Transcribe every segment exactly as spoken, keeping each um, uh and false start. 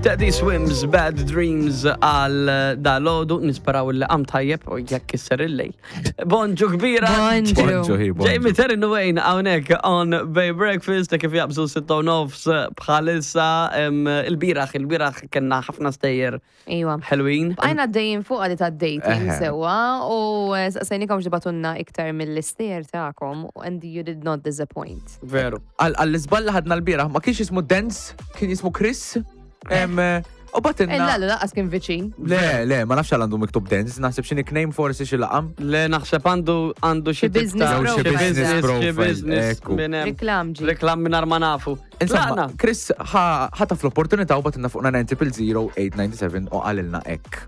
Teddy Swims, Bad Dreams għal dalgħodu, nisperaw li qam tajjeb u jekk kisser il-lejl. Bonġu kbira! Bonġu. Bonġu, hi, bonġu. Jamie Terry Wayne hawnhekk on Bay Breakfast kif jaqbżu sitta u nofs bħalissa em, il-bieraħ, il-bieraħ kellna ħafna stejjer Iwa. ħelwin. Bqajna għaddejjin fuq għadi ta' dating Eħe. sewa u eh, saqsejnikom tibagħtulna iktar mill-istejjer tagħkom and you did not disappoint. Veru. Għall-iżball li ħadna l-bieraħ, ma kienx jismu Dance, kien jismu Chris. Em, U bagħtilna. Illa, lanqas kien viċin. Le, le, ma nafx għal għandu miktub Dance, naħseb xi nickname forsi xi laqam. Le naħseb għandu għandu xi Xi business tip ta' Jew xi xi business business, xi profile, business ekku. minn hemm. Reklam ġi. Reklam minn ma nafu. Insomma, Tlaqna. Chris ħataf l-opportunità u bagħtilna fuq nine zero zero eight nine seven u qalilna hekk.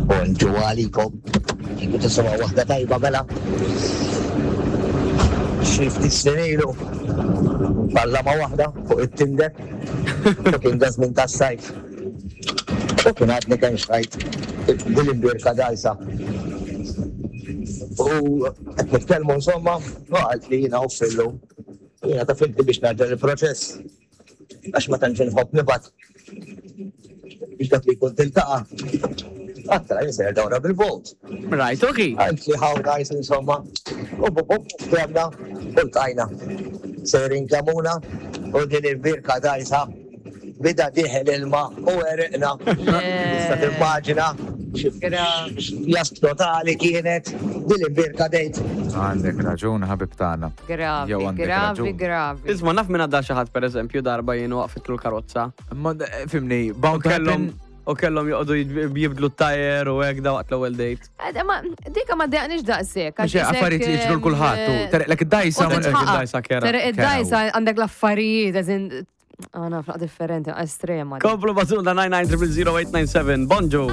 Bonġu għalikom. Kieku tisma' waħda tajba mela. Xi ftit snin ilu. Balla ma' waħda fuq it-Tinder. U kien da żmien tas-sajf. U kien għadni kemm xtrajt din il-birka dajsa. U qed nitkellmu insomma, u qalt li jiena uffillu. Jiena ta' finti biex ngħaġġel il-proċess. Għax ma tantx inħobb nibgħat biex dak li jkun tiltaqa'. Għattra jisir dawra bil-boat. Right, okay. Għalt li how nice insomma. U bu bu ftehemna u ltqajna. Sejrin Kemmuna u din il-birka dajsa bida dieħel ilma u għeriqna. Tista' timmaġina jas totali kienet din il-birka dejt. Għandek raġun, ħabib tagħna. Gravi, Jew għandek gravi, raġun. gravi. Isma' naf minn għadda xi ħadd, pereżempju, darba jien waqfitlu l-karozza. Ma eh, fimni, U bound to kellhom happen. u kellhom joqogħdu jib- jibdlu t-tajer u hekk da waqt l-ewwel date. Eh, Ma dika ma ddejjaqnix daqshekk. Mhux affarijiet li jiġru l-kulħadd u tereqlek id-dajsa. U ma- titħaqaq. Id-dajsa kera. Tereq id-dajsa għandek l-affarijiet, eżin, għana flaq differenti, estrema. Komplu bagħtulna nine nine zero zero eight nine seven. Bonġu.